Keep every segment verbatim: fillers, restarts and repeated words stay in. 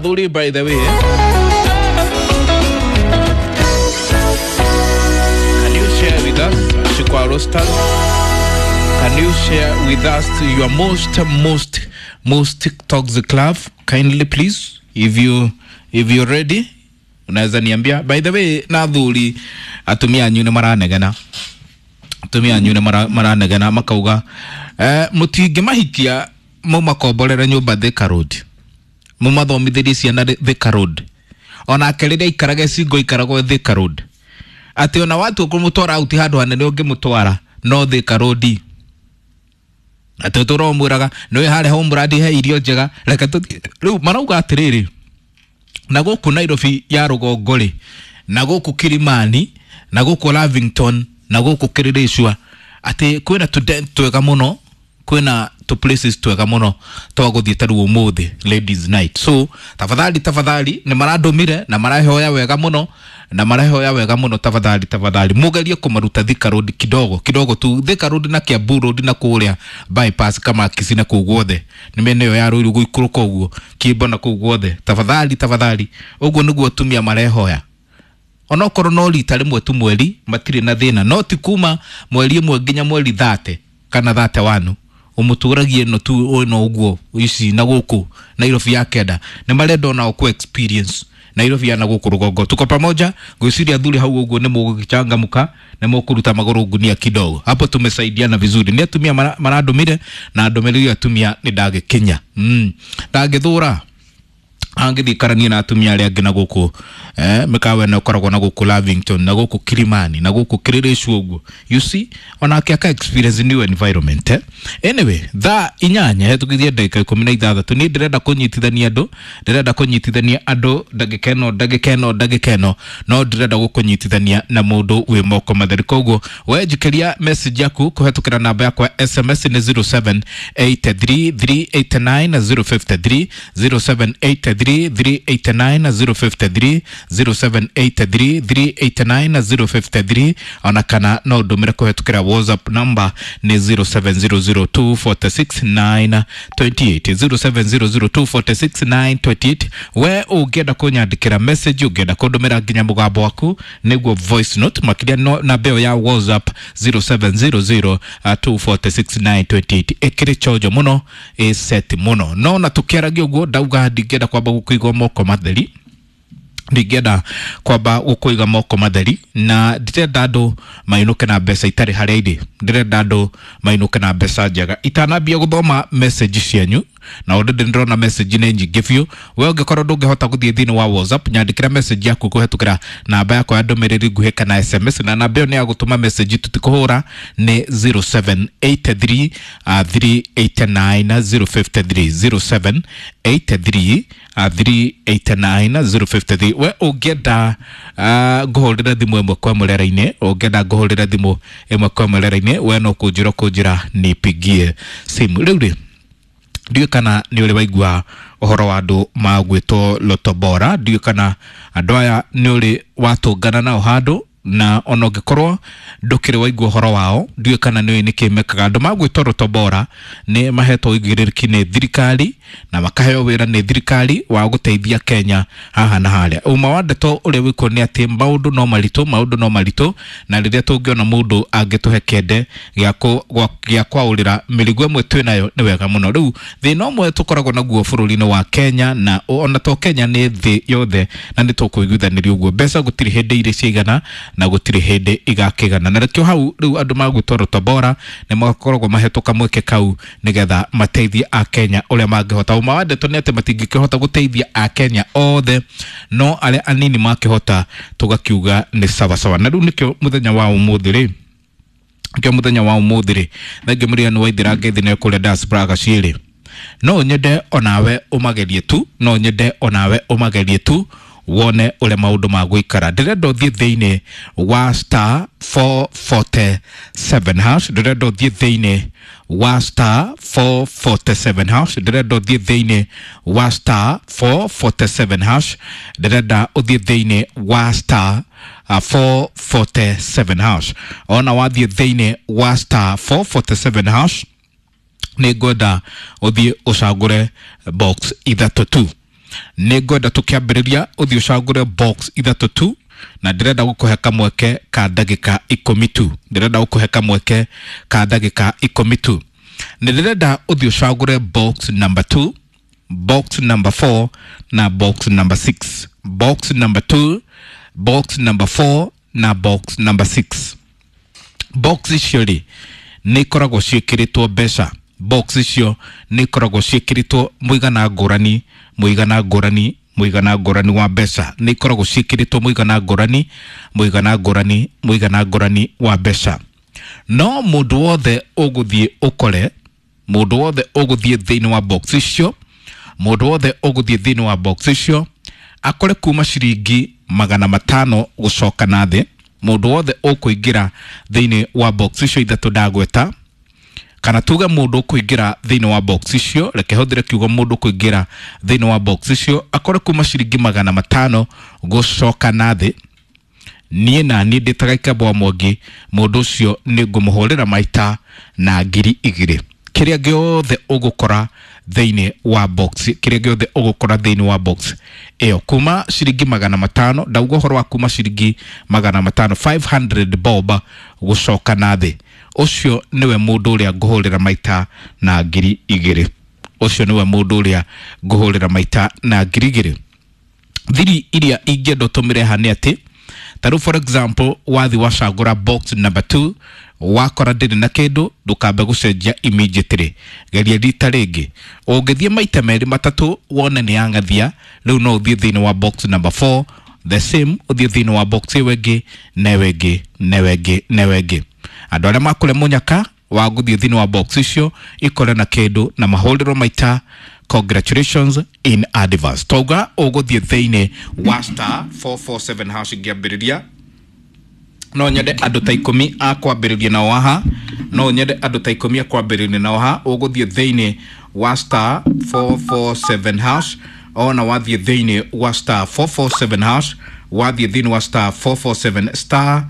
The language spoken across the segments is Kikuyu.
Athuri, by the way, can you share with us, Shikwa Rosters? Can you share with us your most most most toxic love, kindly please? If you if you're ready, unaweza niambia. By the way, na athuri, atumia anyu nĩ maranegena, atumia anyu nĩ maranegena makauga eh, mũtingĩmahikia mũmakomborere nyũmba Thika Road, mũmathomithĩrie ciana Thika Road, onake rĩrĩa aikarage single ikaragwo Thika Road, atĩ ona watu kũmũtwara out handũ hanene ũngĩmũtwara no Thika Road, atĩ ũtũra ũmwĩraga nĩwe harĩa home he irio njega, reke tũthiĩ. Rĩu marauga atĩrĩrĩ, na gũkũ Nairobi ya rũgongo rĩ, na gũkũ Kilimani, na gũkũ Lavington, na gũkũ Kileleshwa, atĩ kwĩna tũ twega mũno, kwĩna tũ places twega mũno twa gũthiĩ ta rĩu ũmũthĩ ladies night. So tafadhali tafadhali, nĩ marandũmire na marahoya wega mũno, na marahoya wega mũno, tafadhali tafadhali mugerie kũmaruta Thika Road kidogo kidogo tu, Thika Road na Kiambu Road na kũrĩa bypass kama Kisii na kũu guothe, nĩ mĩena ĩyo ya Ruiru gũikũrũka ũguo Kimbo na kũu guothe, tafadhali tafadhali. Ũguo nĩguo atumia marehoya, onokorwo no rita rĩmwe tu mweri matirĩ na thĩna, no ti kuma mweri ĩmwe nginya mweri thate kana thate wanu ũmũtũragie no tu ĩno ũguo ici na gũkũ Nairobi ya kenda, nĩ marenda onao ku experience Nairobi ya na gũkũ rũgongo. Tuko pamoja, ngwĩciria athuri hau ũguo nĩ mũgũgĩchangamka, nĩ mũkũruta magũrũ ngunia kidogo hapo, tumesaidiana vizuri. Nĩ atumia marandũmire na ndũmĩrĩri atumia nĩ ndagĩkinya mm. ndangĩthũra angĩthiĩ karania na atumia arĩa angĩ na gũkũ eh, mĩkawa ĩno ĩkoragwo na gũkũ Lavington na gũkũ Kilimani na gũkũ Kileleshwa ũguo, you see, onake aka experience new environment eh? Anyway, thaa inyanya hetũkithie ndagĩka ikũmi na ithathatũ, niĩ ndĩrenda kũnyitithania andũ, ndĩrenda kũnyitithania andũ ndagĩka ĩno ndagĩka ĩno ndagĩka ĩno, no ndĩrenda gũkũnyitithania na mũndũ wĩ moko matheri. Koguo we njikĩria message yaku kũhetũkĩra namba yakwa S M S nĩ zero seven eight three three eight nine zero five three, zero seven eight three three eight nine zero five three, zero seven eight three three eight nine zero five three, ona kana no ndũmĩre kũhetũkĩra WhatsApp number nĩ zero seven zero zero two four six nine two eight, zero seven zero zero two four six nine two eight. We ũngĩenda kũnyandĩkĩra message, ũngĩenda kũndũmĩra nginya mũgambo waku nĩguo voice note, makĩria no namba ĩyo ya WhatsApp zero seven zero zero two four six nine two eight ĩkĩrĩ chonjo mũno, ĩ set mũno. No na tũkĩaragia ũguo ndauga ndingĩenda kwamba gũkũigwo moko matheri, ndingĩenda kwamba gũkũiga moko matheri, na ndirenda andũ mainũke na mbeca itarĩ harĩa irĩ, ndĩrenda andũ mainũke na mbeca njega. Itanambia gũthoma message cianyu, na already ndĩrona message nĩ nyingĩ biũ, we ũngĩkorwo ndũngĩhota gũthiĩ thĩinĩ wa WhatsApp, nyandĩkĩra message yaku kũhetũkĩra namba yakwa ya ndũmĩrĩri nguhĩ kana S M S, na namba ĩyo nĩ ya gũtũma message tũtikũhũra, nĩ zero seven eight three three eight nine zero five three, zero seven eight three three eight nine zero five three. We ũngĩenda ngũhũrĩre thimũ ĩmwe kwa ĩmwe rĩera-inĩ, ũngĩenda ngũhũrĩre thimũ ĩmwe kwa ĩmwe rĩera-inĩ, we no kũnjĩra kũnjĩra nipigie simu. Rĩu rĩ, ndiũĩ kana nĩ ũrĩ waigua ũhoro wa andũ magwĩtwo Lotto Bora, ndiũĩ kana andũ aya nĩ ũrĩ watũngana nao handũ, na ona ũngĩkorwo ndũkĩrĩ waigua ũhoro wao, ndiũĩ kana nĩ ũĩ nĩkĩ mekaga. Andũ magwĩtwo Lotto Bora nĩ mahetwo ũigĩrĩrĩki nĩ thirikari na makaheo wĩra nĩ thirikari wa gũteithia Kenya haha na harĩa. Ũma wa ndeto ũrĩa wĩkuo nĩ atĩ maũndũ no maritũ, maũndũ no maritũ, na rĩrĩa tũngĩona mũndũ angĩtũhe kĩende gĩa kwaũrĩra mĩrigo ĩmwe twĩ nayo nĩ wega mũno. Rĩu thĩna ũmwe tũkoragwo naguo bũrũri-inĩ wa Kenya, na ona to Kenya nĩ thĩ yothe, na nĩ tũkũiguithanĩria ũguo, mbeca gũtirĩ hĩndĩ irĩ ciaigana na gũtirĩ hĩndĩ igakĩgana. Na nĩkĩo hau rĩu andũ magwĩtwo Lotto Bora nĩ makoragwo mahetwo kamweke kau nĩgetha mateithie Akenya ũrĩa mangĩhota. Ũma wa ndeto nĩ atĩ matingĩkĩhota gũteithia Akenya othe, no arĩa anini makĩhota tũgakiuga nĩ sawasawa. Na rĩu nĩkĩo mũthenya wa ũmũthĩ rĩ, nĩkĩo mũthenya wa ũmũthĩ rĩ, thengiũ mũrĩani wa Ithira Ngeithi nĩ kũrĩa diaspora Gaciĩrĩ, no nyende onawe ũmagerie tu, no nyende onawe ũmagerie tu wone ũrĩa maũndũ magũikara. Ndĩrenda ũthiĩ thĩinĩ wa star four forty seven hash, ndĩrenda ũthiĩ thĩinĩ wa star four forty seven hash, ndĩrenda ũthiĩ thĩinĩ wa star four forty seven hash, ndĩrenda ũthiĩ thĩinĩ wa star four forty seven hash. Ona wathiĩ thĩinĩ wa star four forty seven hash, nĩ ngwenda ũthiĩ ũcagũre box ithatũ tu. Nĩ ngwenda tũkĩambĩrĩria ũthiĩ ũcagũre box ithatũ tu, na ndĩrenda gũkũhe kamweke ka ndagĩka ikũmi tu. Ndĩrenda gũkũhe kamweke ka ndagĩka ikũmi tu. Nĩ ndĩrenda ũthiĩ ũcagũre box number two, box number four na box number six. Box number two, box number four na box number six. Box icio rĩ nĩ ikoragwo ciĩkĩrĩtwo mbeca. Box icio nĩ ikoragwo ciĩkĩrĩtwo mũigana ngũrani, mũigana ngũrani, mũigana ngũrani wa mbeca. Nĩ ikoragwo ciĩkĩrĩtwo mũigana ngũrani, mũigana ngũrani, mũigana ngũrani wa mbeca. No mũndũ wothe ũgũthiĩ ũkore, mũndũ wothe ũgũthiĩ thĩinĩ wa box icio, mũndũ wothe ũgũthiĩ thĩinĩ wa box icio akore kuma ciringi magana matano gũcoka na thĩ. Mũndũ wothe ũkũingĩra thĩinĩ wa box icio ithatũ ndagweta, kana tuge mũndũ ũkũingĩra thĩinĩ wa box icio, reke hũthĩre kiugo mũndũ ũkũingĩra thĩinĩ wa box icio akore kuma ciringi magana matano gũcoka na thĩ, niĩ na niĩ ndĩ ta Gĩkamba wa Mwangi, mũndũ ũcio nĩ ngũmũhũrĩra maita na ngiri igĩrĩ. Kĩrĩa gĩothe ũgũkora thĩinĩ wa box, kĩrĩa gĩothe ũgũkora thĩinĩ wa box ĩyo kuma ciringi magana matano, ndauga ũhoro wa kuma ciringi magana matano, five hundred bob gũcoka na thĩ, ũcio nĩwe mũndũ ũrĩa ngũhũrĩra maita na ngiri igĩrĩ. Ũcio nĩwe mũndũ ũrĩa ngũhũrĩra maita na ngiri igĩrĩ. Thiri iria ingĩenda ũtũmĩre haha nĩ atĩ, ta rĩu for example, wathi wacagũra box number two, wakora ndĩrĩ na kĩndũ, ndũkambe gũcenjia immediately, geria rita rĩngĩ. Ũngĩthiĩ maita merĩ matatũ wone nĩ yang'athia, rĩu no ũthiĩ thĩinĩ wa box number four, the same, ũthiĩ thĩinĩ wa box ĩyo ĩngĩ, na ĩyo ĩngĩ, na ĩyo ĩngĩ, na ĩyo ĩngĩ. Andũ arĩa makũrĩa mũnyaka wa gũthiĩ thĩinĩ wa box icio ikore na kĩndũ na mahũrĩrwo maita, congratulations in advance. Twauga ũgũthiĩ thĩinĩ wa star four four seven hash ngĩambĩrĩria. No nyende andũ ta ikũmi a kwambĩrĩria nao haha, no nyende andũ ta ikũmi a kwambĩrĩria nao haha. Ũgũthiĩ thĩinĩ wa star four four seven hash, ona wathiĩ thĩinĩ wa star four four seven hash, wathiĩ thĩinĩ wa star four four seven, star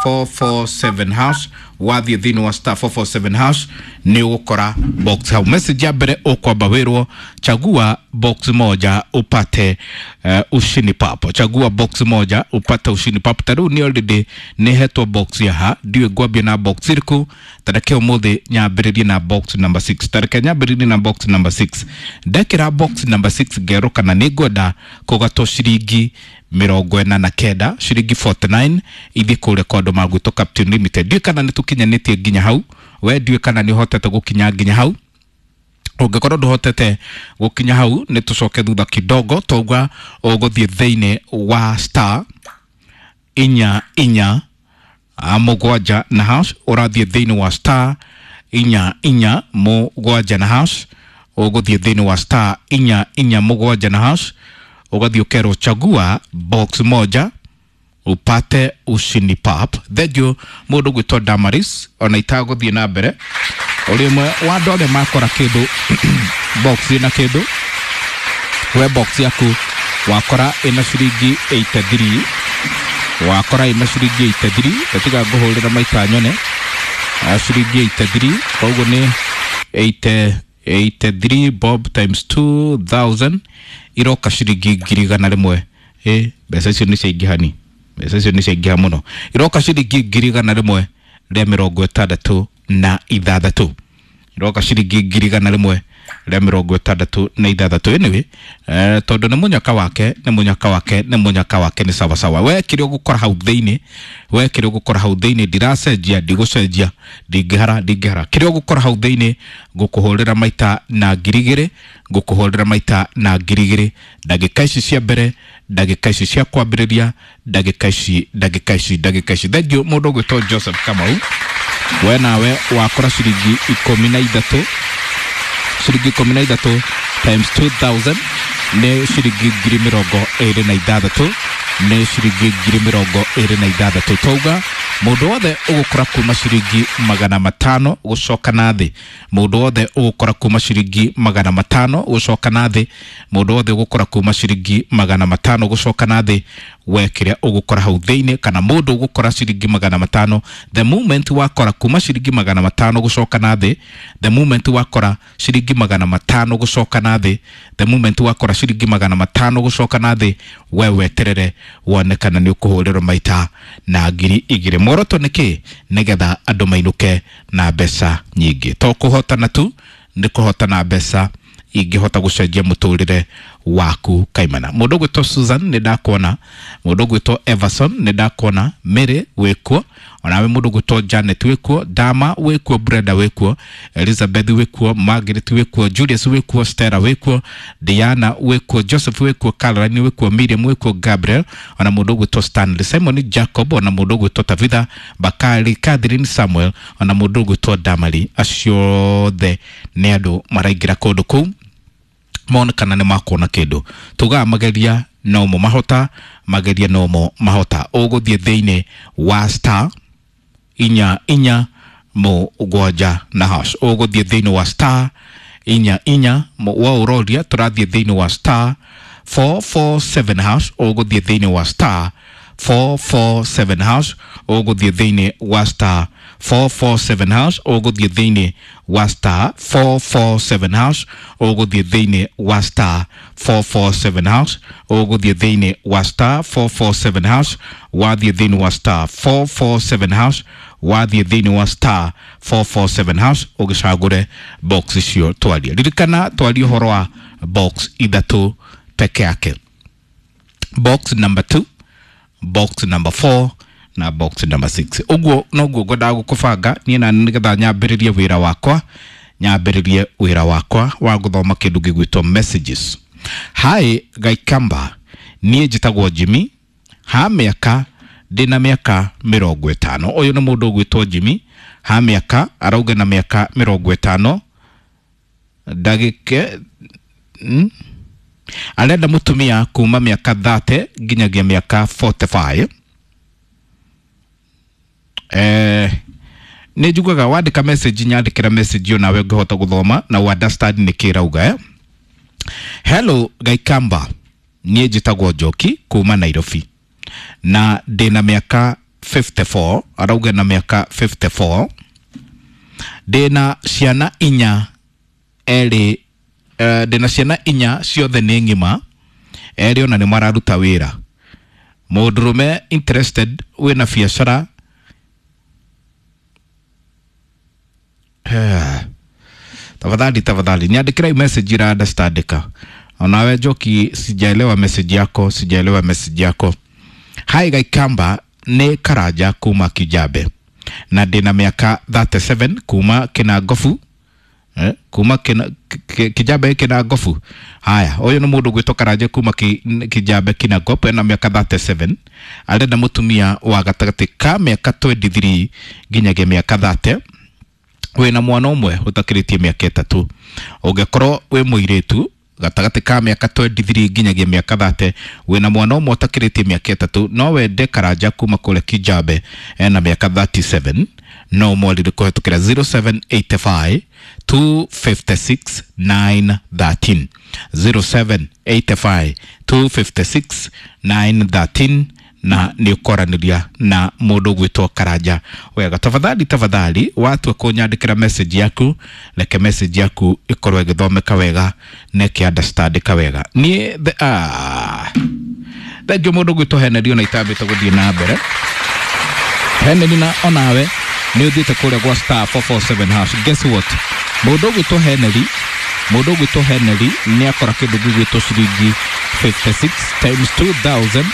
four four seven hash, wathiĩ thĩinĩ wa star four four seven hash, nĩ ũgũkora box hau. Message ya mbere ũkwamba wĩrwo chagua box moja upate uh, ushindi papo. Chagua box moja upate ushindi papo. Ta rĩu nĩ already nĩ hetwo box ya ha, ndiũĩ ngwambia na box ĩrĩkũ. Ta reke ũmũthĩ nyambĩrĩrie na box number six. Ta reke nyambĩrĩrie na box number six. Ndekĩra box number six ngerwo kana nĩ ngwenda kũgatwo ciringi mĩrongo ĩna na kenda, ciringi forty-nine, ithiĩ kũrĩa kwa andũ magwĩtwo Captain Limited. Ndiũĩ kana nĩ tũkinyanĩtie nginya hau, we ndiũĩ kana nĩ ũhotete gũkinya nginya hau. Ũngĩkorwo ndũhotete gũkinya hau, nĩ tũcoke thutha kidogo. Twauga ũgũthiĩ thĩinĩ wa star inya inya mũgwanja na hash, ũrathiĩ thĩinĩ wa star inya inya mũgwanja na hash, ũgũthiĩ thĩinĩ wa star inya inya mũgwanja na hash, ũgathiĩ ũkerwo chagua box moja upate ushindi pap. Thengiũ mũndũ gwĩtwo Damaris, ona itagũthiĩ na mbere, ũrĩ ũmwe wa andũ arĩa makora kĩndũ box ĩna kĩndũ. We box yaku wakora ĩna ciringi eighty-three, wakora ĩna ciringi eighty-three, gatiga ngũhũrĩra maita nyone ciringi eighty-three, koguo nĩ eighty, eighty-three bob times two thousand iroka ciringi ngiri igana rĩmwe. Ĩ, mbeca icio nĩ ciaingĩha ni, mbeca icio nĩ ciaingĩha mũno. Iroka ciringi ngiri igana rĩmwe rĩa mĩrongo ĩtandatũ na ithathatũ. Iroka ciringi ngiri igana rĩmwe rĩa mĩrongo ĩtandatũ na ithathatũ. Anyway, eh, tondũ nĩ mũnyaka wake, nĩ mũnyaka wake, nĩ mũnyaka wake, nĩ sawa sawa. We kĩrĩa ũgũkora hau thĩinĩ, we kĩrĩa ũgũkora hau thĩinĩ, ndiracenjia, ndigũcenjia, ndingĩhara, ndingĩhara. Kĩrĩa ũgũkora hau thĩinĩ, ngũkũhũrĩra maita na ngiri igĩrĩ, ngũkũhũrĩra maita na ngiri igĩrĩ, ndagĩka ici cia mbere, ndagĩka ici cia kwambĩrĩria, ndagĩka ici, ndagĩka ici, ndagĩka ici. Thengiũ mũndũ ũgwĩtwo Joseph Kamau, we nawe wakora ciringi ikũmi na ithatũ, ciringi ikũmi na ithatũ times two thousand nĩ ciringi ngiri mĩrongo ĩrĩ na ithathatũ, nĩ ciringi ngiri mĩrongo ĩrĩ na ithathatũ. Twauga mũndũ wothe ũgũkora kuma ciringi magana matano gũcoka na thĩ, mũndũ wothe ũgũkora kuma ciringi magana matano gũcoka na thĩ, mũndũ wothe ũgũkora kuma ciringi magana matano gũcoka na thĩ, We kĩrĩa ũgũkora hau thĩinĩ, kana mũndũ ũgũkora ciringi magana matano, the moment wakora kuma ciringi magana matano gũcoka na thĩ, the moment wakora ciringi magana matano gũcoka na thĩ, the moment wakora ciringi magana matano gũcoka na thĩ, we weterere wone kana nĩ ũkũhũrĩrwo maita na ngiri igĩrĩ. Muoroto nĩ kĩ? Nĩgetha andũ mainũke na mbeca nyingĩ, to kũhotana tu, nĩ kũhotana mbeca ingĩhota gũcenjia mũtũrĩre waku kaimana. Mũndũ ũgwĩtwo Susan nĩ ndakuona, mũndũ ũgwĩtwo Everson nĩ ndakuona, Mary wĩkuo, onawe mũndũ ũgwĩtwo Janet wĩkuo, Dama wĩkuo, Brenda wĩkuo, Elizabeth wĩkuo, Margaret wĩkuo, Julius wĩkuo, Stella wĩkuo, Diana wĩkuo, Joseph wĩkuo, Caroline wĩkuo, Miriam wĩkuo, Gabriel, ona mũndũ ũgwĩtwo Stanley, Simon Jacob, ona mũndũ ũgwĩtwo Tabitha Bakari, Catherine Samuel, ona mũndũ ũgwĩtwo Damari. Acio othe nĩ andũ maraingĩra kũndũ kũu mone kana nĩ makuona kĩndũ. Tugaga mageria nomo mahota, mageria nomo mahota. Ũgũthiĩ thĩinĩ wa star inya inya mũgwanja na hash, ũgũthiĩ thĩinĩ wa star inya inya wa ũroria, tũrathiĩ thĩinĩ wa star four four seven hash, ũgũthiĩ thĩinĩ wa star four four seven hash, ũgũthiĩ thĩinĩ wa star four four seven hash, ũgũthiĩ thĩinĩ wa star four four seven hash, ũgũthiĩ thĩinĩ wa star four four seven hash, ũgũthiĩ thĩinĩ wa star four four seven hash, wathiĩ thĩinĩ wa star four four seven hash, wathiĩ thĩinĩ wa star four four seven hash, ũgĩcagũre box icio twarie. Ririkana twarie ũhoro wa box ithatũ peke yake, box number two, box number four na box number six. Ũguo noguo ngwendaga gũkũbanga niĩ na nĩgetha nyambĩrĩrie wĩra wakwa, nyambĩrĩrie wĩra wakwa wa gũthoma kĩndũ gĩgwĩtwo messages. Hi Gaikamba, niĩ njĩtagwo Jimmy, ha mĩaka ndĩna mĩaka mĩrongo ĩtano. Ũyũ nĩ mũndũ ũgwĩtwo Jimmy, ha mĩaka arauga na mĩaka mĩrongo ĩtano, ndagĩke mm? arenda mũtumia kuma mĩaka thate nginyagia mĩaka forty five. Eh, nĩ njugaga wandĩka message, nyandĩkĩra message ĩyo nawe ũngĩhota gũthoma na ũ understand nĩ kĩ ĩrauga, eh? Hello Gaikamba, niĩ njĩtagwo Njoki kuma Nairobi na ndĩna mĩaka fifty four, arauga na mĩaka fifty four, ndĩna ciana inya erĩ, eh, ndĩna ciana inya ciothe nĩ ng'ima, erĩ ona nĩ mararuta wĩra. Mũndũrũme interested wĩna biacara. Eh, tafadhali tafadhali niandĩkĩra message ira understandika. Onawe Njoki, sijaelewa message yako, sijaelewa message yako. Hi Gaikamba, nĩ Karanja kuma Kijabe na ndĩna mĩaka thirty seven kuma Kĩnangobu, eh, kuma kina, Kijabe Kĩnangobu. Haya, ũyũ nĩ mũndũ ũgwĩtwo Karanja kuma ki, Kijabe Kĩnangobu, ena mĩaka thirty seven, arenda mũtumia wa gatagatĩ ka mĩaka twenty three nginyagia mĩaka thirty, wĩna mwana ũmwe ũtakĩrĩtie mĩaka ĩtatũ. Ũngĩkorwo wĩ mũirĩtu gatagatĩ ka mĩaka twenty three nginyagia mĩaka thirty, wĩna mwana ũmwe ũtakĩrĩtie mĩaka ĩtatũ, no wende Karanja kuma kũrĩa Kijabe ena mĩaka thirty seven, no ũmwarĩrie kũhetũkĩra zero seven eight five two fifty six nine thirteen, zero seven eight five two fifty six nine thirteen, na nĩ ũkwaranĩria na mũndũ ũgwĩtwo Karanja wega. Tafadhali tafadhali watua kũnyandĩkĩra message yaku, reke message yaku ĩkorwo ĩgĩthomeka wega na ĩkĩ-understandĩka wega. Niĩ the, ah, thengiũ mũndũ ũgwĩtwo Henry ona itambĩte gũthiĩ na mbere. Henry na onawe nĩ ũthiĩte kũrĩa gwa star four four seven hash. Guess what? Mũndũ ũgwĩtwo Henry, mũndũ ũgwĩtwo Henry nĩ akora kĩndũ gĩgwĩtwo ciringi fifty six times two thousand,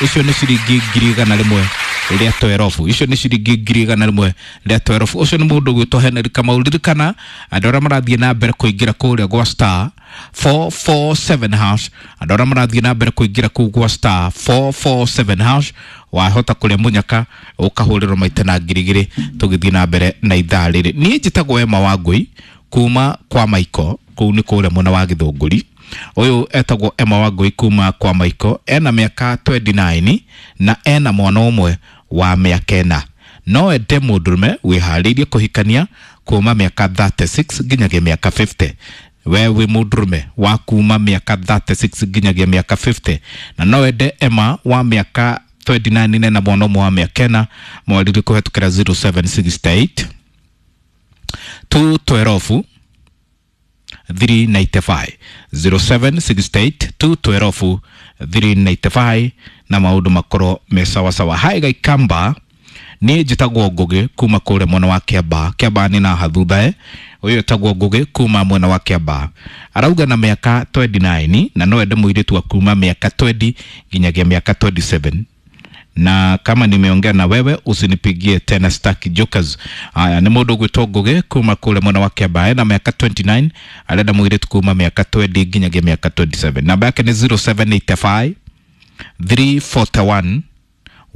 icio nĩ ciringi ngiri igana rĩmwe rĩa twerobu, icio nĩ ciringi ngiri igana rĩmwe rĩa twerobu. Ũcio nĩ mũndũ ũgwĩtwo Henry Kamau. Ririkana andũ arĩa marathiĩ na mbere kũingĩra kũrĩa gwa star four four seven hash, andũ arĩa marathiĩ na mbere kũingĩra kũu gwa star four four seven hash, wahota kũrĩa mũnyaka ũkahũrĩrwo maita na ngiri igĩrĩ. Tũgĩthiĩ na mbere na ithaa rĩrĩ, niĩ njĩtagwo Emma Wangũi kuma kwa Maiko, kũu nĩ kũrĩa mwena wa Gĩthũngũri. Ũyũ etagwo Emma Wangũi kuma kwa Maiko, ena mĩaka twenty nine na ena mwana ũmwe wa mĩaka ĩna. No ende mũndũrũme wĩharĩirie kũhikania kuma mĩaka thirty six nginyagia mĩaka fifty. We wĩ mũndũrũme wa kuma mĩaka thirty-six nginyagia mĩaka fifty na no wende Emma wa mĩaka twenty-nine na mwana ũmwe wa mĩaka ĩna, mwariri kũhetũkĩra zero seven six eight two twelve three ninety-five, zero seven six eight two twelve three ninety-five na maũndũ makorwo me sawasawa. Hai Gaikamba, niĩ njĩtagwo Ngũgĩ kuma kũrĩa mwena wa Kĩambaa. Kĩambaa nĩ naha thutha e ũyũ etagwo Ngũgĩ kuma mwena wa Kĩambaa, arauga na mĩaka twenty-nine na no ende mũirĩtu wa kuma mĩaka twenty nginyagia mĩaka twenty-seven. Na kama nimeongea na wewe usinipigie tena, staki jokers. Haya, ni mũndũ ũgwĩtwo Ngũgĩ kuma kũrĩa mwena wa Kĩambaa na mĩaka twenty-nine, arenda mũirĩtu kuma mĩaka twenty nginyagia mĩaka twenty-seven. Namba yake nĩ zero seven eight five three forty-one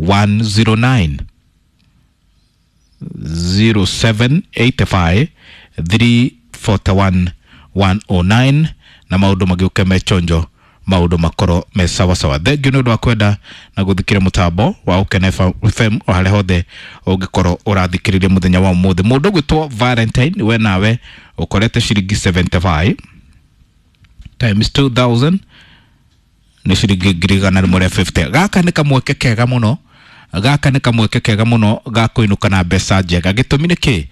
one zero nine, zero seven eight five three forty-one one oh nine na maũndũ magĩũke me chonjo, maũndũ makorwo me sawasawa. Thengiũ nĩ ũndũ wa kwenda na gũthikĩra mũtambo wa Ũkena F M o harĩa hothe ũngĩkorwo ũrathikĩrĩria mũthenya wa ũmũthĩ. Mũndũ ũgwĩtwo Valentine, we nawe ũkorete ciringi seventy-five times two thousand nĩ ciringi ngiri igana rĩmwe rĩa fifty. Gaka nĩ kamweke kega mũno, gaka nĩ kamweke kega mũno ga kũinũka na mbeca njega. Gĩtũmi nĩ kĩ?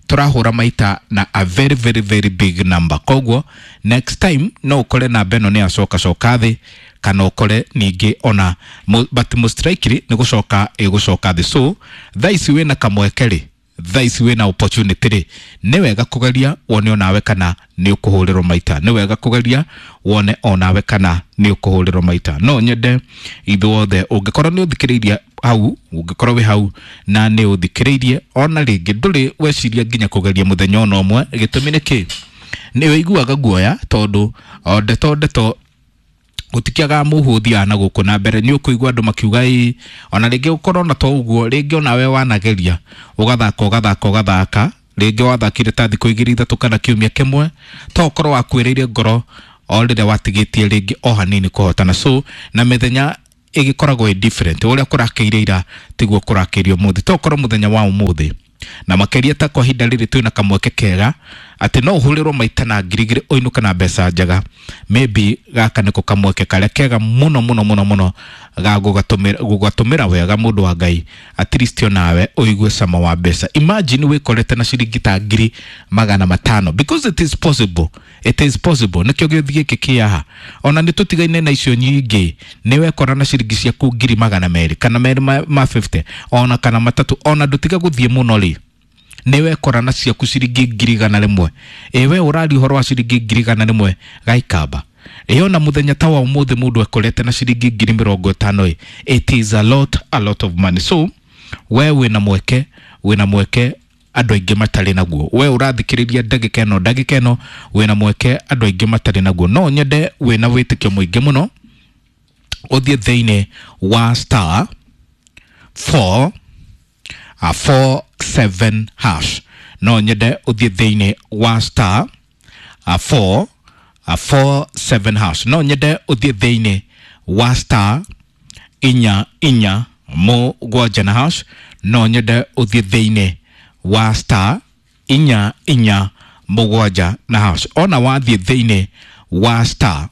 Tũrahũra maita na a very very very big number. Koguo next time no ũkore namba ĩno nĩ yacoka coka thĩ, kana ũkore ningĩ ona but most likely nĩ gũcoka ĩgũcoka thĩ. So thaa ici wĩna kamweke rĩ, thaa ici wĩna opportunity rĩ, nĩ wega kũgeria wone onawe kana nĩ ũkũhũrĩrwo maita. Nĩ wega kũgeria wone onawe kana nĩ ũkũhũrĩrwo maita. No nyende ithuothe, ũngĩkorwo nĩ ũthikĩrĩirie hau, ũngĩkorwo wĩ hau na nĩ ũthikĩrĩirie ona rĩngĩ ndũrĩ weciria nginya kũgeria mũthenya ona ũmwe, gĩtũmi nĩ kĩ? Nĩ ũiguaga guoya tondũ o ndeto ndeto gũtikĩagaga mũhu ũthiaga na gũkũ na mbere. Nĩ ũkũigua andũ makiuga ĩ, ona rĩngĩ ũkorwo na to ũguo, rĩngĩ onawe wanageria ũgathaka ũgathaka ũgathaka, rĩngĩ wathakire ta thikũ igĩrĩ ithatũ kana kiumia kĩmwe, to ũkorwo wakuĩrĩire ngoro o rĩrĩa watigĩtie rĩngĩ o hanini kũhotana. So na mĩthenya ĩgĩkoragwo ĩ different, ũrĩa kũrakĩire ira tiguo kũrakĩirio ũmũthĩ. To ũkorwo mũthenya wa ũmũthĩ na makĩria ta kwa ihinda rĩrĩ twĩna kamweke kega atĩ no ũhũrĩrwo maita na ngiri igĩrĩ ũinũke na mbeca njega. Maybe gaka nĩko kamweke karĩa kega mũno mũno mũno mũno ga gũgatũmĩra, gũgatũmĩra wega mũndũ wa Ngai, at least onawe ũigue cama wa mbeca. Imagine wĩkorete na ciringi ta ngiri magana matano, because it is possible, it is possible. Nĩkĩo gĩũthi gĩkĩ kĩ haha, ona nĩ tũtigaine na icio nyingĩ, nĩ wekora na ciringi ciaku ngiri magana merĩ kana merĩ ma, ma fifty ona kana matatũ, ona ndũtiga gũthiĩ mũno rĩ, nĩ wekora na ciaku ciringi ngiri igana rĩmwe. Ĩ we ũraria ũhoro wa ciringi ngiri igana rĩmwe Gaikamba, ĩ ona mũthenya ta wa ũmũthĩ mũndũ ekorete na ciringi ngiri mĩrongo ĩtano ĩ, it is a lot, a lot of money. So we wĩna mweke, wĩna mweke andũ aingĩ matarĩ naguo. We ũrathikĩrĩria ndagĩka ĩno, ndagĩka ĩno wĩna mweke andũ aingĩ matarĩ naguo. No nyende wĩna wĩtĩkio mũingĩ mũno ũthiĩ thĩinĩ wa star four, a four seven hash. No nyende ũthiĩ thĩinĩ wa star a four, a four seven hash. No nyende ũthiĩ thĩinĩ wa star inya inya mũgwanja na hash. No nyende ũthiĩ thĩinĩ wa star inya inya mũgwanja na hash. Ona wathiĩ thĩinĩ wa star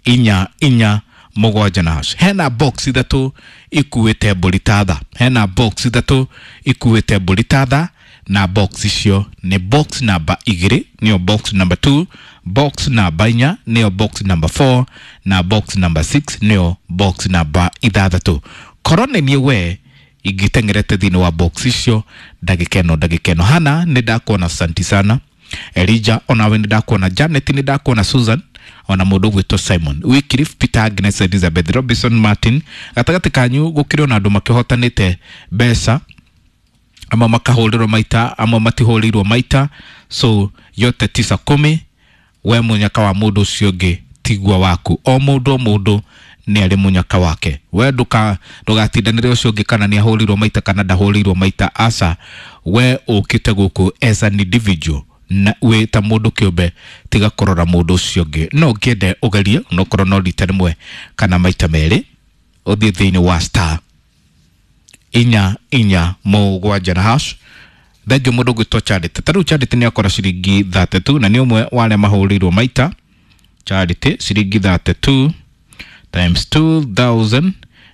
inya inya mũgwanja na hash, hena box ithatũ ikuĩte mbũri ta tha, hena box ithatũ ikuĩte mbũri ta tha, na box icio nĩ box number igĩrĩ nĩyo box number two, box number inya nĩyo box number four, na box number six nĩyo box number ithathatũ. Korwo nĩ niĩ we ingĩteng'erete thĩinĩ wa box icio ndagĩka ĩno, ndagĩka ĩno. Hana nĩ ndakuona, asante sana. Elijah onawe nĩ ndakuona, Janet nĩ ndakuona, Susan ona mũndũ ũgwĩtwo Simon, Wycliffe, Peter, Agnes, Elizabeth, Robinson, Martin. Gatagatĩ kanyu gũkĩrĩ ona andũ makĩhotanĩte mbeca, amwe makahũrĩrwo maita, amwe matihũrĩirwo maita. So yote tisa kumi, we mũnyaka wa mũndũ ũcio ũngĩ tigua waku. O mũndũ o mũndũ nĩ arĩ mũnyaka wake. We ndũka, ndũgatindanĩre ũcio ũngĩ kana nĩ ahũrĩirwo maita kana ndahũrĩirwo maita, aca. We ũkĩte gũkũ as an individual, na wĩ ta mũndũ kĩũmbe, tiga kũrora mũndũ ũcio ũngĩ. No ngĩende ũgerie onokorwo no rita rĩmwe kana maita merĩ, ũthiĩ thĩinĩ wa star inya inya mũgwanja na hash. Thengio mũndũ ũgwĩtwo Charity. Ta rĩu Charity nĩ akora ciringi thirty-two na nĩ ũmwe wa arĩa mahũrĩirwo maita. Charity ciringi thirty-two times two thousand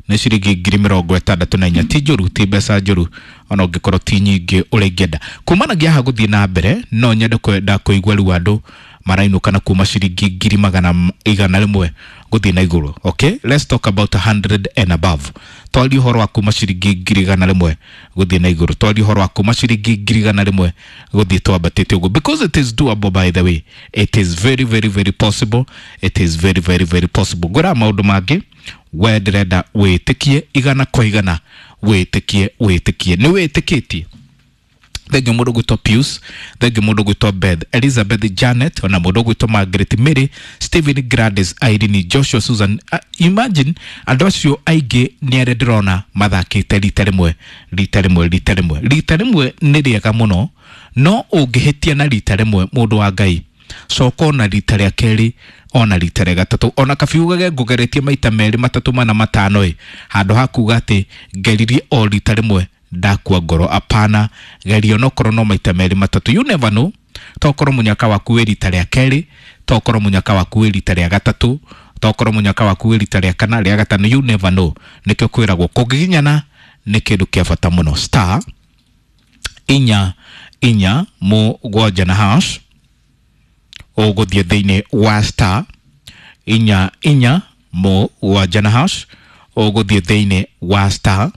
nĩ ciringi ngiri mĩrongo ĩtandatũ na inya. Ti njũru, ti mbeca njũru, ona ũngĩkorwo ti nyingĩ ũrĩa ingĩenda. Kumanagia haha gũthiĩ na mbere, no nyende kwenda kũigua rĩu andũ marainũka na kuma ciringi ngiri magana igana rĩmwe gũthiĩ na igũrũ. Okay, let's talk about a hundred and above. Twarie ũhoro wa kuma ciringi ngiri igana rĩmwe gũthiĩ na igũrũ. Twarie ũhoro wa kuma ciringi ngiri igana rĩmwe gũthiĩ twambatĩte ũguo, because it is doable. By the way, it is very very very possible. It is very very very possible. Ngwĩra maũndũ mangĩ, we ndĩrenda wĩtĩkie igana kwa igana, wĩtĩkie, wĩtĩkie, nĩ wĩtĩkĩtie. Thengio mũndũ gwĩtwo Pius, thengio mũndũ gwĩtwo Beth, Elizabeth, Janet, ona mũndũ gwĩtwo Margaret, Mary, Stephen, Gladys, Irene, Joshua, Susan. Uh, imagine andũ acio aingĩ nĩ arĩa ndĩrona mathakĩte rita rĩmwe, rita rĩmwe, rita rĩmwe. Rita rĩmwe nĩ rĩega mũno, no ũngĩhĩtia na rita rĩmwe, mũndũ wa Ngai, coka ona rita rĩa kerĩ, ona rita rĩa gatatũ, ona kabiugage ngũgeretie maita merĩ, matatũ, mana, matano ĩ, handũ ha kuga atĩ ngeririe o rita rĩmwe ndakua ngoro. Apana, geria onokorwo no maita merĩ matatũ. You never know, tokorwo mũnyaka waku wĩ rita rĩa kerĩ, tokorwo mũnyaka waku wĩ rita rĩa gatatũ, tokorwo mũnyaka waku wĩ rita rĩa kana, rĩa gatano. You never know. Nĩkĩo kwĩragwo kũgiginyana nĩ kĩndũ kĩa bata mũno. Star inya inya mũgwanja na hash, ũgũthiĩ thĩinĩ wa star inya inya mũgwanja na hash, ũgũthiĩ thĩinĩ wa star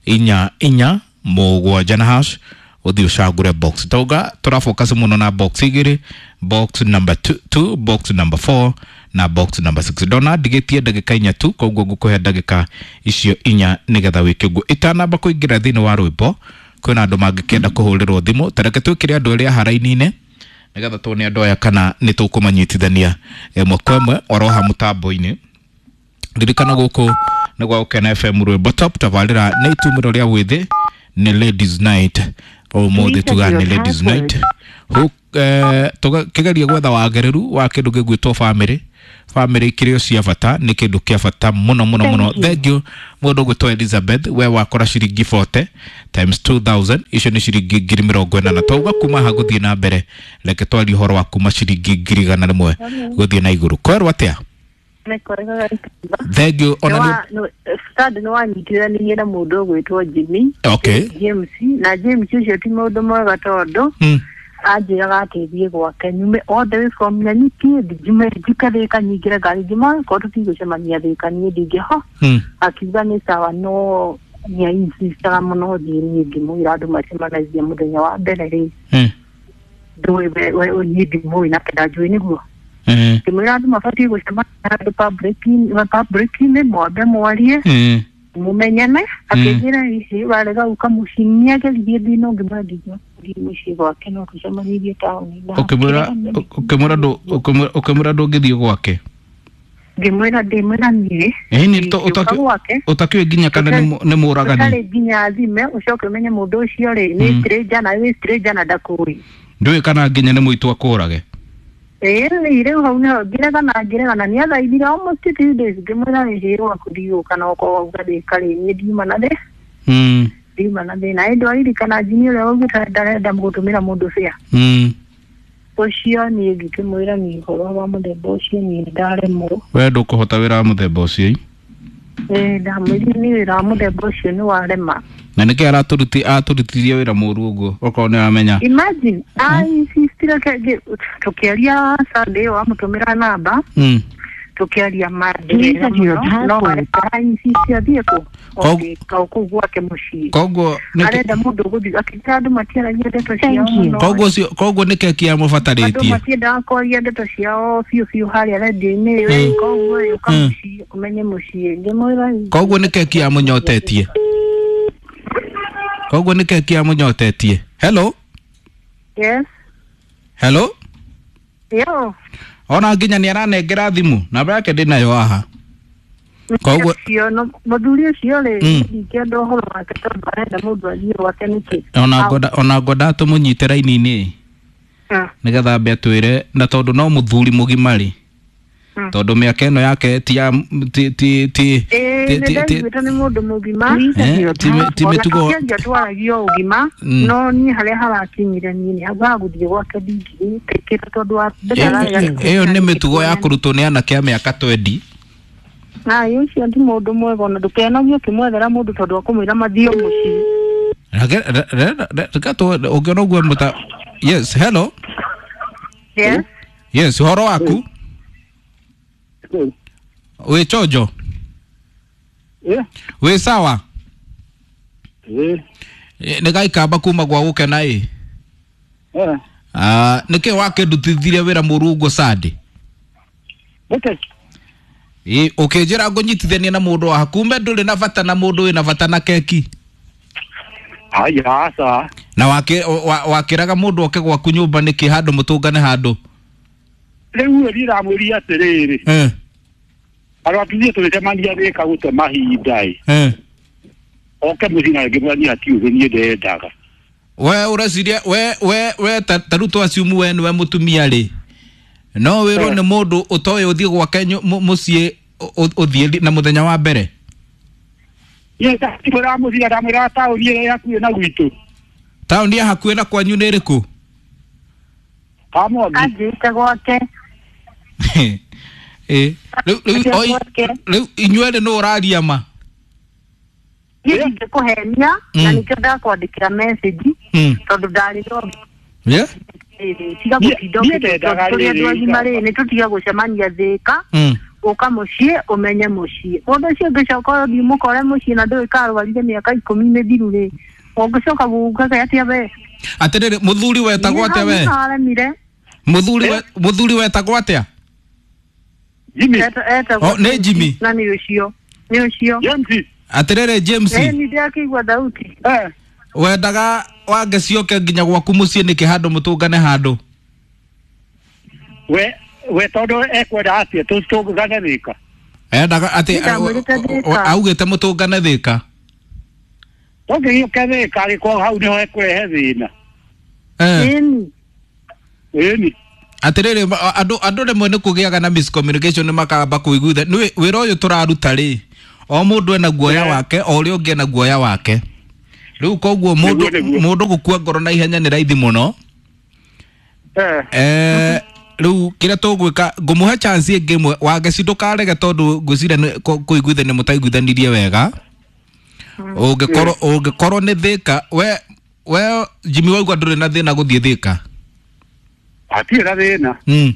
inya inya mũgwanja na hash, ũthiĩ ũcagũre box. Tauga tũrafocus mũno na box igĩrĩ, box number two, two, box number four na box number six. Ndona ndigĩtie ndagĩka inya tu, koguo ngũkũhe ndagĩka icio inya nĩgetha wĩke ũguo. Itanamba kũingĩra thĩinĩ wa rwĩmbo, kwĩna andũ mangĩkĩenda kũhũrĩrwo thimũ. Ta reke twĩkĩre andũ erĩ haraini-inĩ nĩgetha tuone andũ aya kana nĩ tũkũmanyitithania ĩmwe kwa ĩmwe oroha mũtambo-inĩ. Ririkana gũkũ nĩ gwa Gũkena F M rwĩmbo top, tabarĩra nĩ itumĩro rĩa wĩthĩ, nĩ ladies night ũmũthĩ, tuga nĩ ladies night. Tũkĩgeria gwetha wagĩrĩru wa kĩndũ gĩgwĩtwo family. Family ikĩrĩ o cia bata, nĩ kĩndũ kĩa bata mũno mũno mũno. Thank you mũndũ ũgwĩtwo Elizabeth, we wakora ciringi forty times two thousand, icio nĩ ciringi ngiri mĩrongo ĩnana. Twauga kuma haha gũthiĩ na mbere, reke twarie ũhoro wa kuma ciringi ngiri igana rĩmwe gũthiĩ na igũrũ. Kwerwo atĩa? Thank you. Ona nĩ Stad nĩ wanyitithanirie na mũndũ ũgwĩtwo Jimmy. Okay. James, na James ũcio ti mũndũ mwega tondũ anjĩraga atĩ thiĩ gwake nyume all the way from Nanyuki, njume njuke Thĩka, nyingĩre ngari ngima, korwo tũtigũcemania Thĩka niĩ ndingĩho. Akiuga nĩ sawa, no nĩ ainsistaga mũno thiĩ. Niĩ ngĩmwĩra andũ macemanagia mũthenya wa mbere rĩ, ndũĩ niĩ ndimũĩ na kenda njũĩ nĩguo. Ngĩmwĩra andũ mabatiĩ gũcemania handũ public-inĩ, mwambe mwarie mũmenyane. Akĩnjĩra ici warega gũka mũciĩ, nĩageririe thiĩ no ngĩmwĩra ndingĩthiĩ mũciĩ gwake, no tũcemanirie taũni. Ũkĩmwĩra ũkĩmwĩra ndũngĩthiĩ gwake? Ngĩmwĩra ndĩmwĩra niĩ ũtakĩũĩ nginya kana nĩ mũragani, ũtarĩ nginya thime ũcoke ũmenye mũndũ ũcio rĩ nĩ stranger, na wĩ stranger na ndakũĩ, ndũĩ kana nginya nĩ mũitũ akũrage. Ĩĩ, rĩu hau nĩho ngĩregana ngĩregana nĩathaithire almost two days. Ngĩmwĩra nĩhĩrwo gwaku ndigũka, na okorwo wauga ndĩka rĩ, niĩ ndiuma na thĩ, ndiuma na thĩna. Ĩndĩ waririkana Jimmy ũrĩa waugĩte ndarenda gũtũmĩra mũndũ bĩa ũcio, niĩ ngĩkĩmwĩra niĩ ũhoro wa mũthemba ũcio niĩ ndaremwo. We ndũkũhota wĩra wa mũthemba ũcio? Ĩĩ, ndamwĩrire niĩ wĩra wa mũthemba ũcio nĩ warema. Na nĩkĩ aratũruti atũrutithirie wĩra mũru ũguo okorwo nĩ aramenya? Imagine I insistire tũkĩaria Sunday ĩyo amũtũmĩra namba, tũkĩaria mandĩrĩra mũno, no ainsist athiĩ kũ o kũu gwake mũciĩ. Koguo arenda mũndũ ũgũthiĩ akĩnjĩra andũ matiaragia ndeto ciao mũno. Koguo ũcio, koguo nĩ keki yamũbatarĩtie? Andũ matiendaga kwaria ndeto ciao biũ biũ harĩa redio-inĩ, koguo ũka mũciĩ ũmenye mũciĩ. Ngĩmwĩra koguo nĩ keki yamũnyotetie? Koguo nĩ keki yamũnyotetie? Hello? Yes. Hello? Yo. Ona nginya nĩ aranengera thimũ, namba yake ndĩnayo haha. Koguo mũthuri ũcio rĩ, ndingĩenda ũhoro wake tondũ arenda mũndũ athiĩ gwake nĩkĩ. Ona ngwenda ona ngwenda tũmũnyite raini-inĩ nĩgetha ambe atwĩre, na tondũ no mũthuri mũgima rĩ, Tondu mĩaka ĩno yake ti ya ti ti ti ti ti nĩ mũndũ mũgima ti mĩtugo twaragia ũgima no niĩ harĩa harakinyire niĩ nĩ hau hagũthiĩ gwake ndingĩtĩkĩra tondũ wa ĩyo nĩ mĩtugo ya kũrutwo nĩ anake a mĩaka twendi. Ai ũcio ti mũndũ mwega ona ndũkenagio ũkĩmwethera mũndũ tondũ akũmwĩra mathiĩ mũciĩ. Ũngĩona ũguo mũta. Yes, hello. Yes. Yes, ũhoro waku? Wĩ chonjo? Wĩ sawa? Nĩ gaikamba kuma gwa gũkena ĩ. Nĩkĩ wakĩndutithirie wĩra mũru ũguo Sunday? Ĩ ũkĩnjĩra ngũnyitithania na mũndũ wa kumbe ndũrĩ na bata na mũndũ wĩna bata na keki. Haya aca. Na wakĩraga mũndũ oke gwaku nyũmba nĩkĩ handũ mũtũngane handũ? Rĩu niĩ ndamwĩrire atĩrĩrĩ. Eh. Andũ atũthiĩ tũgĩcemania Thĩka gũte mahinda ĩ. Eh. Oke mũciĩ na ngĩmwĩra niĩ hatirĩ ũndũ niĩ ndendaga. We ũreciria we we we ta rĩu tũ assume we nĩwe mũtumia rĩ. No wĩrwo nĩ mũndũ ũtoĩ ũthiĩ gwake mũciĩ ũthiĩ na mũthenya wa mbere. Niĩ ndamwĩra mũciĩ ndamwĩra taũni ĩrĩa ĩ hakuhĩ na gwitũ. Taũni ya hakuhĩ na kwanyu nĩ ĩrĩkũ? Kamwangi. Anjĩte gwake. Ĩ rĩu rĩu rĩu inyuerĩ nũ ũraria ma? Niĩ ndingĩkũhenia na nĩkĩo ndakwandĩkĩra message tondũ ndarĩ no. Yeah. Tiga gũtinda ũkĩtũria tũrĩ andũ agima rĩ nĩ tũtige gũcemania Thĩka ũka mũciĩ ũmenye mũciĩ mũndũ ũcio ũngĩcoka ũthiĩ mũkore mũciĩ na ndũĩ karwarire mĩaka ikũmi mĩthiru rĩ ũngĩcoka gũkaga atĩa we? Atĩrĩrĩ mũthuri wetagwo atĩa we? Mũthuri mũthuri wetagwo atĩa? Jimmy. Oh, nĩ Jimmy. Na nĩ ũcio nĩ ũcio James. Atĩrĩrĩ James. Eh nĩ ndakĩigua thauti. Eh. Wendaga wangecioke nginya gwaku mũciĩ nĩkĩ handũ mũtũngane handũ? We we tondũ ekwenda atĩa tũtũngane Thĩka? Endaga atĩ augĩte mũtũngane Thĩka. Tũngĩgĩũke Thĩka angĩkorwo hau nĩho ekũrehe thĩna. Eh. Ĩni. Atĩrĩrĩ andũ andũ rĩmwe nĩ kũgĩaga na miscommunication makamba kũiguitha nĩ wĩra ũyũ tũraruta rĩ o mũndũ ena guoya wake o ũrĩa ũngĩ ena guoya wake. Rĩu koguo mũndũ mũndũ gũkua ngoro na ihenya nĩ raithi mũno. Eh. Eh rĩu kĩrĩa tũgwĩka ngũmũhe chance ĩngĩ ĩmwe Wangeci ndũkarege tondũ ngwĩciria kũiguithania mũtaiguithanirie wega. Ũngĩkorwo ũngĩkorwo nĩ Thĩka we we Jimmy waigua ndũrĩ na thĩna gũthiĩ Thĩka? Hatirĩ na thĩna. Mm.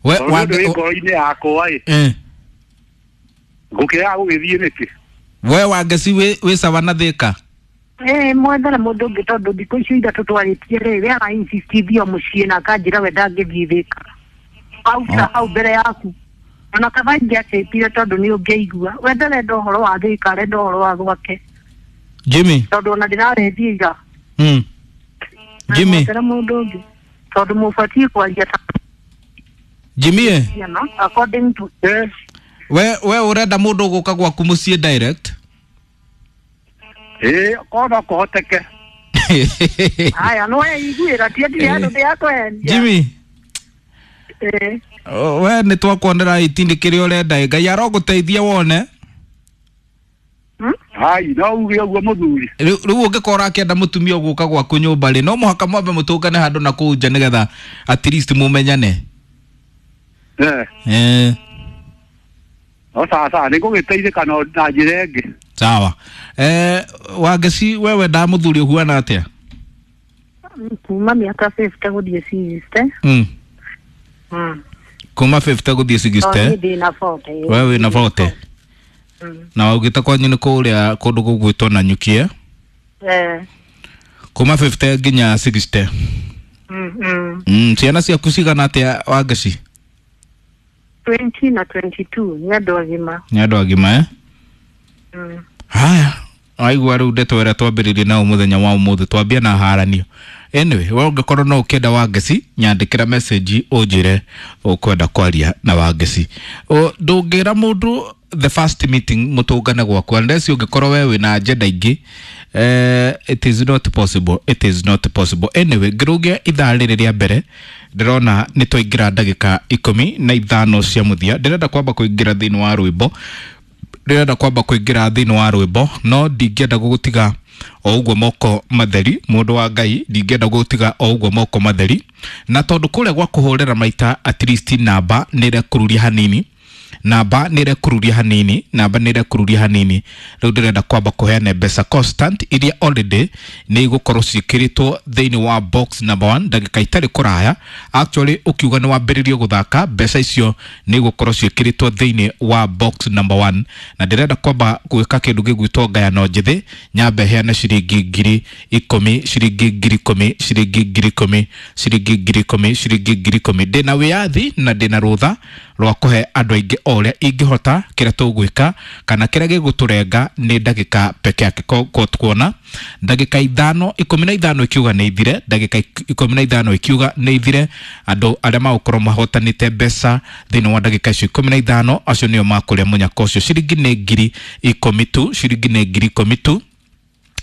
We wange ngoro-inĩ yakwa ĩ. Eh. Ngũkĩaga gũgĩthiĩ nĩkĩ? We Wangeci wĩ wĩ sawa na Thĩka? Eh mwethera mũndũ ũngĩ tondũ thikũ icio ithatũ twarĩtie rĩ we ara insist thiĩ mũciĩ na akanjĩra we ndangĩthiĩ Thĩka. Auta hau mbere yaku. Ona kaba ingĩacĩtire tondũ nĩ ũngĩaigua. We ndarenda ũhoro wa Thĩka arenda ũhoro wa gwake. Jimmy. Tondũ ona ndĩrarethiĩ ira. Mm. Jimmy. Mwethera mũndũ ũngĩ. Tondũ mũbatiĩ kwaria ta Jimmy. According to eh we we ũrenda mũndũ gũka gwaku mũciĩ direct? Eh kono kũhoteke. Haya no iguĩra ti ndirĩ andũ ndĩrakwendia. Jimmy. Eh. We nĩ twakuonera itindi kĩrĩa ũrenda Ngai arogũteithia wone. Hai no uge ũguo mũthuri. Rĩu ũngĩkorwo ũrakĩenda mũtumia ũgũka gwaku nyũmba rĩ no mũhaka mwambe mũtũngane handũ na kũu nja nĩgetha at least mũmenyane. Eh. Eh. No sawa sawa nĩ ngũgĩteithĩka na njĩra ĩngĩ. Sawa. Eh Wangeci we wendaga mũthuri ũhuana atĩa? Kuma mĩaka fifty gũthiĩ sixty. Mm. Mm. Kuma fifty gũthiĩ sixty. Niĩ ndĩna forty. We wĩna forty. Na waugĩte kwanyu nĩ kũrĩa kũndũ gũgwĩtwo Nanyuki eh? Eh. Kuma fifty nginya sixty. Mm mm. Mm, ciana ciaku cigana atĩa Wangeci? twenty na twenty-two nĩ andũ agima. Nĩ andũ agima eh? Mm. Haya, waigua rĩu ndeto ĩrĩa twambĩrĩirie nayo mũthenya wa ũmũthĩ twambia na haranio. Anyway, we ũngĩkorwo no ũkĩenda Wangeci nyandĩkĩra message ũnjĩre ũkwenda kwaria na Wangeci. Ndũngĩra mũndũ the first meeting mũtũngane gwaku unless ũngĩkorwo we wĩna agenda ingĩ. Eh, it is not possible, it is not possible. Anyway, ngĩrũgia ithaa rĩrĩ rĩa mbere Ndĩrona nĩ twaingĩra ndagĩka ikũmi na ithano cia mũthia. Ndĩrenda kwamba kũingĩra thĩinĩ wa rwĩmbo, ndĩrenda kwamba kũingĩra thĩinĩ wa rwĩmbo, no ndingĩenda gũgũtiga o ũguo moko matheri, mũndũ wa Ngai, ndingĩenda gũgũtiga o ũguo moko matheri, na tondũ kũrĩa gwa kũhũrĩra maita at least namba nĩ ĩrekururia hanini, namba nĩ ĩrekururia hanini, namba nĩ ĩrekururia hanini. Rĩu ndĩrenda kwamba kũheana mbeca constant iria already nĩ igũkorwo ciĩkĩrĩtwo thĩinĩ wa box number one ndagĩka itarĩ kũraya. Actually ũkiuga nĩ wambĩrĩrie gũthaka, mbeca icio nĩ igũkorwo ciĩkĩrĩtwo thĩinĩ wa box number one, na ndĩrenda kwamba gwĩka kĩndũ gĩgwĩtwo ngayano njĩthĩ. Nyambe heane ciringi ngiri ikũmi, ciringi ngiri ikũmi, ciringi ngiri ikũmi, ciringi ngiri ikũmi, ciringi ngiri ikũmi. Ndĩna wĩyathi na ndĩna rũtha rwa kũhe andũ aingĩ o ũrĩa ingĩhota. Kĩrĩa tũgwĩka kana kĩrĩa gĩgũtũrenga nĩ ndagĩka peke yake, ko tukuona ndagĩka ithano, ikũmi na ithano ikiuga nĩ ithire, ndagĩka ikũmi na ithano ikiuga nĩ ithire, andũ arĩa magũkorwo mahotanĩte mbeca thĩinĩ wa ndagĩka icio ikũmi na ithano, acio nĩo makũrĩa mũnyaka ũcio. Ciringi nĩ ngiri ikũmi tu, ciringi nĩ ngiri ikũmi tu,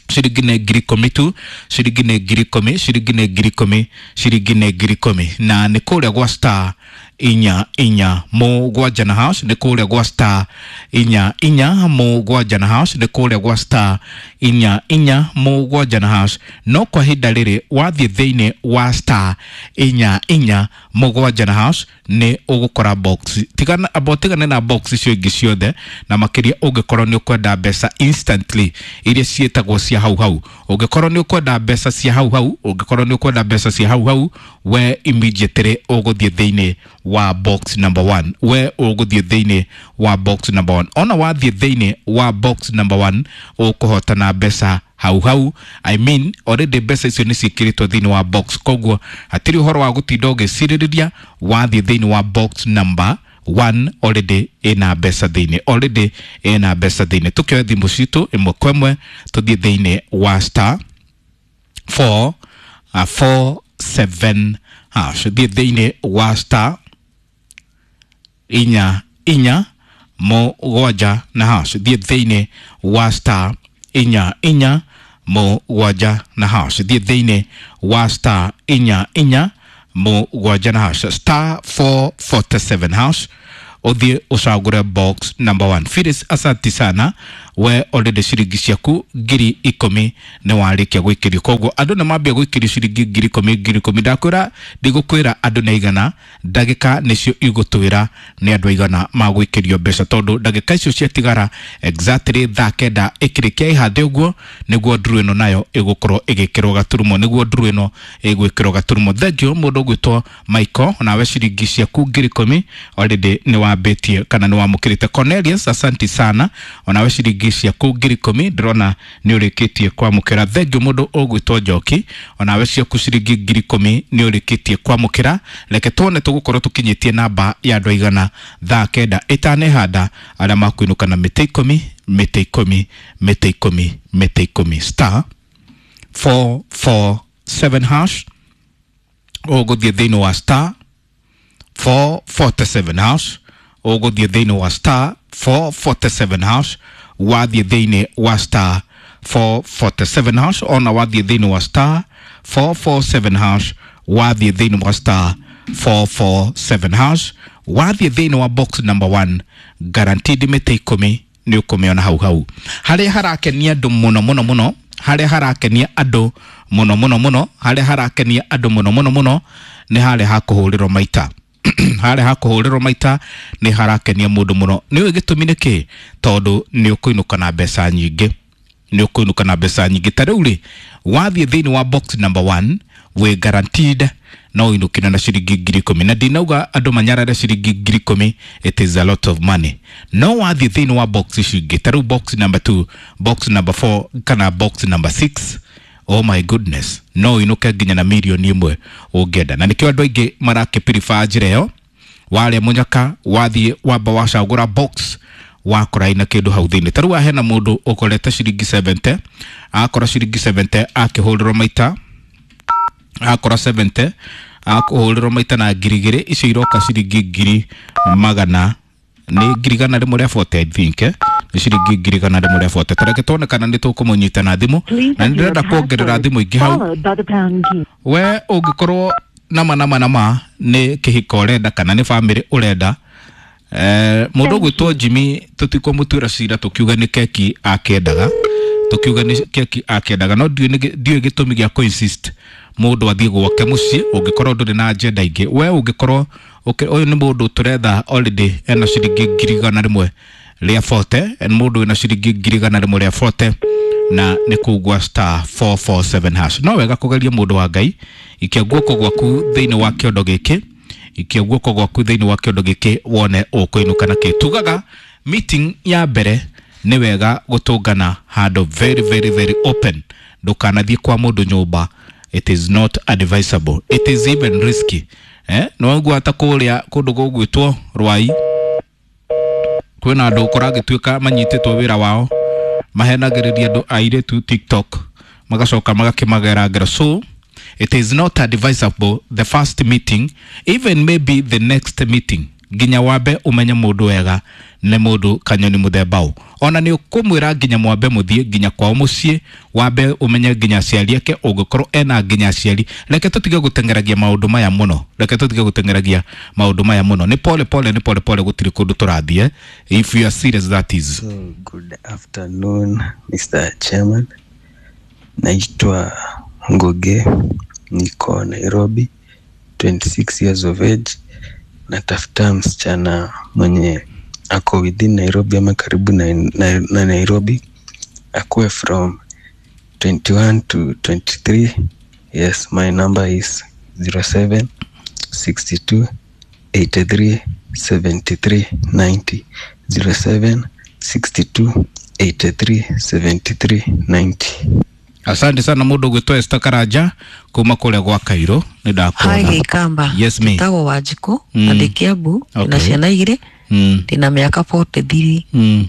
ciringi nĩ ngiri ikũmi tu, ciringi nĩ ngiri ikũmi, ciringi nĩ ngiri ikũmi, ciringi nĩ ngiri ikũmi, na nĩ kũrĩa gwa star inya inya mũgwanja na hash, nĩ kũrĩa gwa star inya inya mũgwanja na hash, nĩ kũrĩa gwa star inya inya mũgwanja na hash. No kwa ihinda rĩrĩ wathiĩ thĩinĩ wa star inya inya mũgwanja na hash nĩ ũgũkora box, tigana amba ũtigane na box icio ingĩ ciothe, na makĩria ũngĩkorwo nĩ ũkwenda mbeca instantly iria ciĩtagwo cia hau hau. Ũngĩkorwo nĩ ũkwenda mbeca cia hau hau, ũngĩkorwo nĩ ũkwenda mbeca cia hau hau, we immediately ũgũthiĩ thĩinĩ wa box number one, we ũgũthiĩ thĩinĩ wa box number one. Ona wathiĩ thĩinĩ wa box number one ũkũhotana mbeca hau hau. I mean already mbeca icio nĩ ciĩkĩrĩtwo thĩinĩ wa box, koguo hatirĩ ũhoro wa gũtinda ũgĩcirĩrĩria. Wathiĩ thĩinĩ wa box number one already ĩna mbeca thĩinĩ, already ĩna mbeca thĩinĩ. Tũkĩoya thimũ citũ ĩmwe kwa ĩmwe tũthiĩ thĩinĩ wa star four uh, four seven hash, thiĩ thĩinĩ wa star inya inya mũgwanja na hash, thiĩ thĩinĩ wa star inya inya mũgwanja na hash, thiĩ thĩinĩ wa star inya inya mũgwanja na hash, star four forty-seven hash, ũthiĩ ũcagũre box number one. Phyllis, asanti sana, we already ciringi ciaku ngiri ikũmi nĩ warĩkia gwĩkĩrio, koguo andũ nĩ mambia gwĩkĩrio ciringi ngiri ikũmi ngiri ikũmi. Ndakwĩra ndigũkwĩra andũ nĩ aigana, ndagĩka nĩcio igũtwĩra nĩ andũ aigana magwĩkĩrio mbeca, tondũ ndagĩka icio ciatigara exactly thaa kenda ĩkĩrĩkia ĩhande ũguo nĩguo nduru ĩno nayo ĩgũkorwo ĩgĩkĩrwo gaturumo, nĩguo nduru ĩno ĩgwĩkĩrwo gaturumo. Thank you mũndũ ũgwĩtwo Michael, nawe ciringi ciaku ngiri ikũmi already nĩ wambĩtie kana nĩ wamũkĩrĩte. Cornelius, asanti sana, onawe ciringi ciaku ngiri ikũmi ndĩrona nĩ ũrĩkĩtie kwamũkĩra. Thank you mũndũ ũgwĩtwo Njoki, onawe ciaku ciringi ngiri ikũmi nĩ ũrĩkĩtie kwamũkĩra. Reke tuone tũgũkorwo tũkinyĩtie namba ya andũ aigana thaa kenda ĩtanehanda arĩa makuinũka na mĩtĩ ikũmi, mĩtĩ ikũmi, mĩtĩ ikũmi, mĩtĩ ikũmi. Star four four seven hash, ũgũthiĩ thĩinĩ wa star four forty-seven hash, ũgũthiĩ thĩinĩ wa star four forty-seven hash, wathiĩ thĩinĩ wa star four forty-seven hash, ona wathiĩ thĩinĩ wa star four four seven hash, wathiĩ thĩinĩ wa star four four seven hash, wathiĩ thĩinĩ wa box number one, guaranteed mĩtĩ ikũmi nĩ ũkũmĩona hau hau. Harĩa harakenia andũ mũno mũno mũno, harĩa harakenia andũ mũno mũno mũno, harĩa harakenia andũ mũno mũno mũno nĩ harĩa ha kũhũrĩrwo maita. Harĩa ha kũhũrĩrwo maita nĩ harakenia mũndũ mũno. Nĩ ũĩ gĩtũmi nĩ kĩ? Tondũ nĩ ũkũinũka na mbeca nyingĩ, nĩ ũkũinũka na mbeca nyingĩ. Ta rĩu rĩ, wathiĩ thĩinĩ wa box number one wĩ guaranteed no ũinũkire na ciringi ngiri ikũmi, na ndinauga andũ manyarare ciringi ngiri ikũmi, it is a lot of money. No wathiĩ thĩinĩ wa box icio ingĩ, ta rĩu box number two, box number four kana box number six, oh my goodness, no ũinũke nginya na mirioni ĩmwe ũngĩenda. Na nĩkĩo andũ aingĩ marakĩpiriba njĩra ĩyo. Warĩa mũnyaka wathiĩ wamba wacagũra box wakora ina kĩndũ hau thĩinĩ. Ta rĩu haha hena mũndũ ũkorete ciringi seventy, akora ciringi seventy akĩhũrĩrwo maita, akora seventy akũhũrĩrwo maita na ngiri igĩrĩ, icio iroka ciringi ngiri magana nĩ ngiri igana rĩmwe rĩa forty, I think, eh? Nĩ ciringi ngiri igana rĩmwe rĩa forty. Ta reke tuone kana nĩ tũkũmũnyita na thimũ, na nĩ ndĩrenda kuongerera thimũ ingĩ hau. We ũngĩkorwo nama nama nama nĩ kĩhiko ũrenda kana nĩ bamĩrĩ ũrenda. Eh, mũndũ ũgwĩtwo Jimmy tũtikũmũtuĩra cira tũkiuga nĩ keki akĩendaga, tũkiuga nĩ keki akĩendaga, no ndiũĩ nĩ- ndiũĩ gĩtũmi gĩa kũ-insist mũndũ athiĩ gwake mũciĩ ũngĩkorwo ndũrĩ na agenda ingĩ. We ũngĩkorwo ũkĩ- ũyũ nĩ mũndũ tũretha already ena ciringi ngiri igana rĩmwe rĩa forty, nĩ mũndũ wĩna ciringi ngiri igana rĩmwe rĩa forty na nĩ kũu gwa star four four seven hash. No wega kũgeria mũndũ wa Ngai, ikia guoko gwaku thĩinĩ wa kĩondo gĩkĩ, ikia guoko gwaku thĩinĩ wa kĩondo gĩkĩ wone ũkũinũka na kĩ. Tugaga meeting ya mbere nĩ wega gũtũngana handũ very very very open, ndũkanathiĩ kwa mũndũ nyũmba, it is not advisable, it is even risky. Eh, no ta kũrĩa kũndũ gũgwĩtwo Rwai kwĩna andũ kũragĩtuĩka manyitĩtwo wĩra wao mahenagĩrĩria andũ airĩtu TikTok magacoka magakĩmagera ngero. So it is not advisable the first meeting, even maybe the next meeting, nginya wambe umenye mũndũ wega nĩ mũndũ kanyoni mũthemba ũ. Ona nĩ ũkũmwĩra nginya mwambe mũthiĩ nginya kwao mũciĩ, wambe ũmenye nginya aciari ake, ũngĩkorwo ena nginya aciari. Reke tũtige gũteng'eragia maũndũ maya mũno, reke tũtige gũteng'eragia maũndũ maya mũno, nĩ pole pole, nĩ pole pole, gũtirĩ kũndũ tũrathiĩ, if you are serious that is. So, good afternoon, Mister Chairman. Naitwa Nguge, niko Nairobi, twenty-six years of age. Natafuta msichana mwenye ako within Nairobi ama karibu na, na, na Nairobi, akuwe from twenty-one to twenty-three. Yes, my number is zero seven sixty-two eighty-three seventy-three ninety. zero seven sixty-two eighty-three seventy-three ninety. Asante sana mũndũ ũgwĩtwo Esther Karanja kuma kũrĩa gwa Cairo, nĩ ndakuona. Hi Gĩkamba. Yes, me. Njĩtagwo Wanjikũ Mm. na ndĩ Kiambu, ndĩna Okay. ciana igĩrĩ, Mm. ndĩna mĩaka forty-three Mm.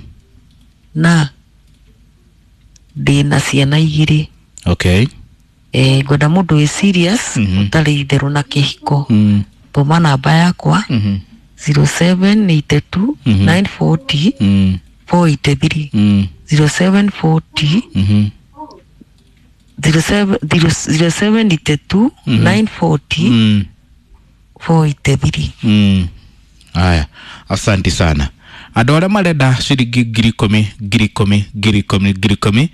na ndĩna ciana igĩrĩ. Okay. Eh, ngwenda mũndũ wĩ serious, Mhm. ũtarĩ itherũ na kĩhiko. Mm. Tũma namba yakwa Mhm. zero seven eight two Mhm. nine forty Mm. four eighty-three Mm. zero seven forty Mhm. zero seven zero zero seven eighty-two Mhm. nine forty Mm. four eighty-three. Mm. Aya, asante sana. Andũ arĩa marenda ciringi ngiri ikũmi, ngiri ikũmi, ngiri ikũmi, ngiri ikũmi,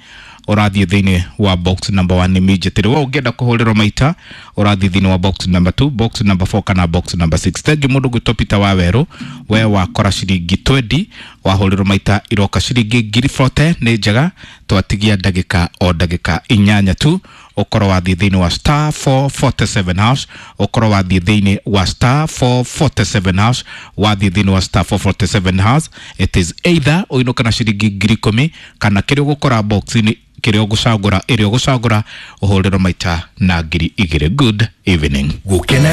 ũrathiĩ thĩinĩ wa box number one immediately. We ũngĩenda kũhũrĩrwo maita, ũrathiĩ thĩinĩ wa box number two, box number four kana box number six. Thengiũ mũndũ gwĩtwo Peter Wawerũ, we wakora ciringi twenty, wahũrĩrwo maita iroka ciringi ngiri forty, nĩ njega, twatigia ndagĩka o ndagĩka inyanya tu, ũkorwo wathiĩ thĩinĩ wa star four forty-seven hash, ũkorwo wathiĩ thĩinĩ wa star four forty-seven hash, wathiĩ thĩinĩ wa star four forty-seven hash, it is either ũinũka na ciringi ngiri ikũmi kana kĩrĩa ũgũkora box-inĩ, kĩrĩa ũgũcagũra, ĩrĩa ũgũcagũra ũhũrĩrwo maita na ngiri igĩrĩ. Good evening. Gukena.